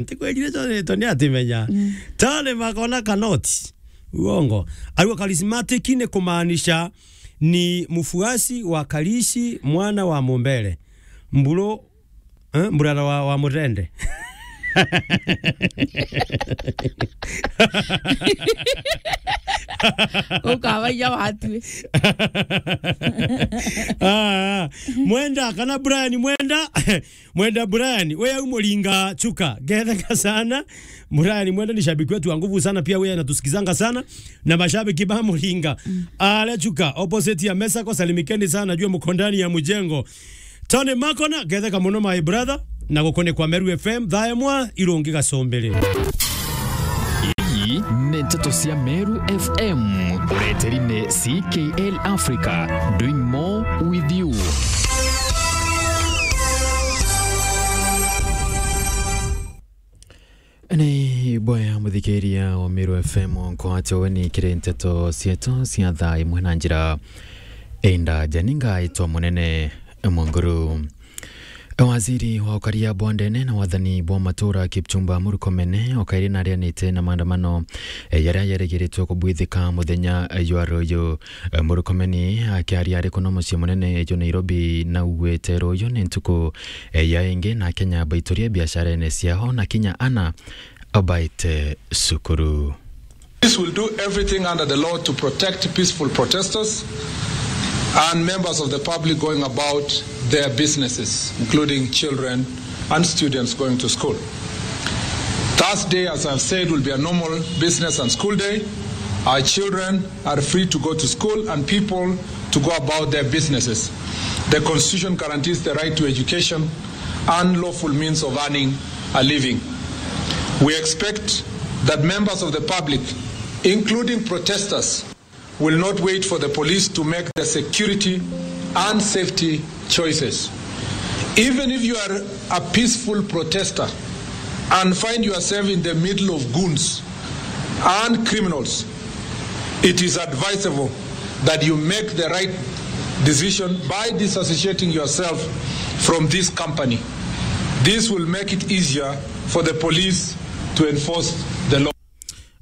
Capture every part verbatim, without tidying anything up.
Ntikwirire Jonathan atimenya. Mm. Tony Makona Kanoti. Uongo. Arua charismatic ni kumaanisha ni mfuasi wa Karishi, mwana wa Mumbere. Mburu, eh, mburara wa, wa Murende. Ukabaia watue. Ah, Mwenda, kana Brian Mwenda. Mwenda Brian, we au Muringa Chuka, ngetheka sana. Brian Mwenda ni shabiki wetu wa nguvu sana, pia wewe anatusikizanga sana na mashabiki ba Muringa. Mm. Ale Chuka, opposite ya mesa kwa salimikeni sana, jua mko ndani ya mjengo. Tony Makona, ngetheka muno my brother, na gukone kwa Meru F M, thaa imwe irungi gacumbiri. Ii ni nteto cia Meru F M, ureteri ni C K L Africa, doing more with you. Ni boya muthikiria wa Meru F M, nkwate weni kiri nteto cietu cia thaa imwe na njira indaja. Ni ngaitwa Munene Mwanguru. Waziri wa ukaria bwa ndene na wathani bwa matura Kipchumba Murkomen okairi narianite na maandamano, eh, yaria yerigiritwe kubwithika muthenya, eh, jwa ruyu. Eh, Murkomen akiaria ari kuno mucii munene jwa Nairobi, naugwite ruyu ni ntuku, eh, ya ingi na Akenya baiturie biasharene ciao na kinya ana abaite cukuru. Police will do everything under the law to protect peaceful protesters and members of the public going about their businesses, including children and students going to school. Thursday, as I've said, will be a normal business and school day. Our children are free to go to school and people to go about their businesses. The Constitution guarantees the right to education and lawful means of earning a living. We expect that members of the public, including protesters, will not wait for the police to make their security and safety choices. Even if you are a peaceful protester and find yourself in the middle of goons and criminals, it is advisable that you make the right decision by disassociating yourself from this company. This will make it easier for the police to enforce the law.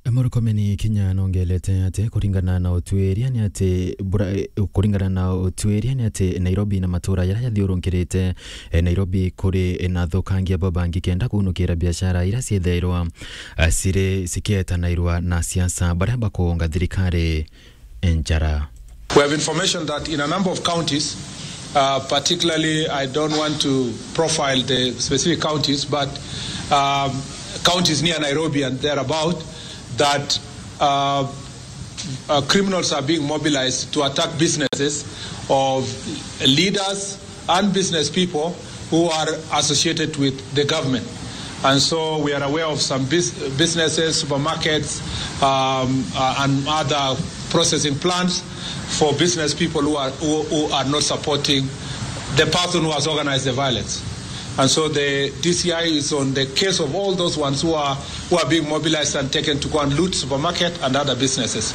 Murkomen kinya nongelete ati kuringana na utuiria ni ati bura-, kuringana na utuiria ni ati Nairobi na matura jaria jathiurunkirite, eh, Nairobi kuri na athukangia babangi kenda kunukira biashara iria ciethairwa, eh, ciri cikietanairwa na siasa baria bakuunga thirikari njara. We have information that in a number of counties, uh, particularly, I don't want to profile the specific counties, but, um, counties near Nairobi and thereabout, that, uh, uh, criminals are being mobilized to attack businesses of leaders and business people who are associated with the government. And so we are aware of some bus-, businesses, supermarkets, um, uh, and other processing plants for business people who are, who, who are not supporting the person who has organized the violence. And so the D C I is on the case of all those ones who are, who are being mobilized and taken to go and loot supermarket and other businesses.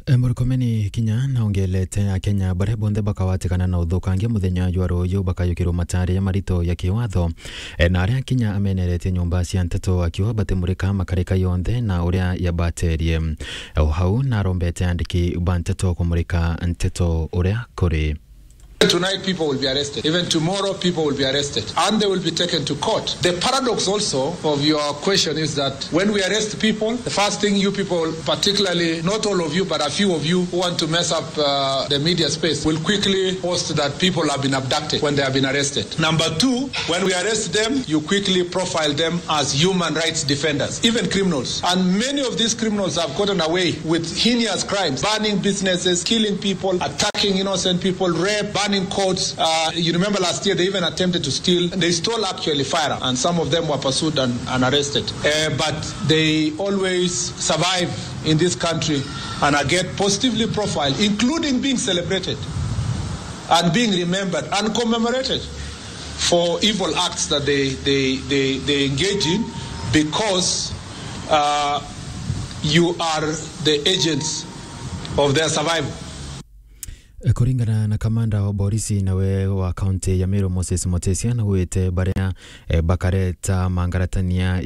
Eh, Murkomen kinya naongelete Akenya baria bonthe bakawatikana na uthukangia muthenya jwa ruyu bakayukirwa matari ya marito ya kiwatho. Eh, na aria kinya ameneretie nyumba cia nteto akiuga batimurika makarika yonthe na uria yabaterie. Eh, o hau narombete andiki ba nteto kumurika nteto uria kuri. Tonight, people will be arrested. Even tomorrow, people will be arrested. And they will be taken to court. The paradox also of your question is that when we arrest people, the first thing you people, particularly, not all of you, but a few of you who want to mess up, uh, the media space, will quickly post that people have been abducted when they have been arrested. Number two, when we arrest them, you quickly profile them as human rights defenders, even criminals. And many of these criminals have gotten away with heinous crimes, burning businesses, killing people, attacking innocent people, rape, burning courts. Uh, you remember last year they even attempted to steal, they stole actually firearm, and some of them were pursued and, and arrested. Uh, but they always survive in this country and are get positively profiled, including being celebrated and being remembered and commemorated for evil acts that they, they, they, they engage in because, uh, you are the agents of their survival. Kuringana na Kamanda wa borisi nawe wa kaunti ya Meru Moses Mutesia nagwite baria, eh, bakareta mangaratania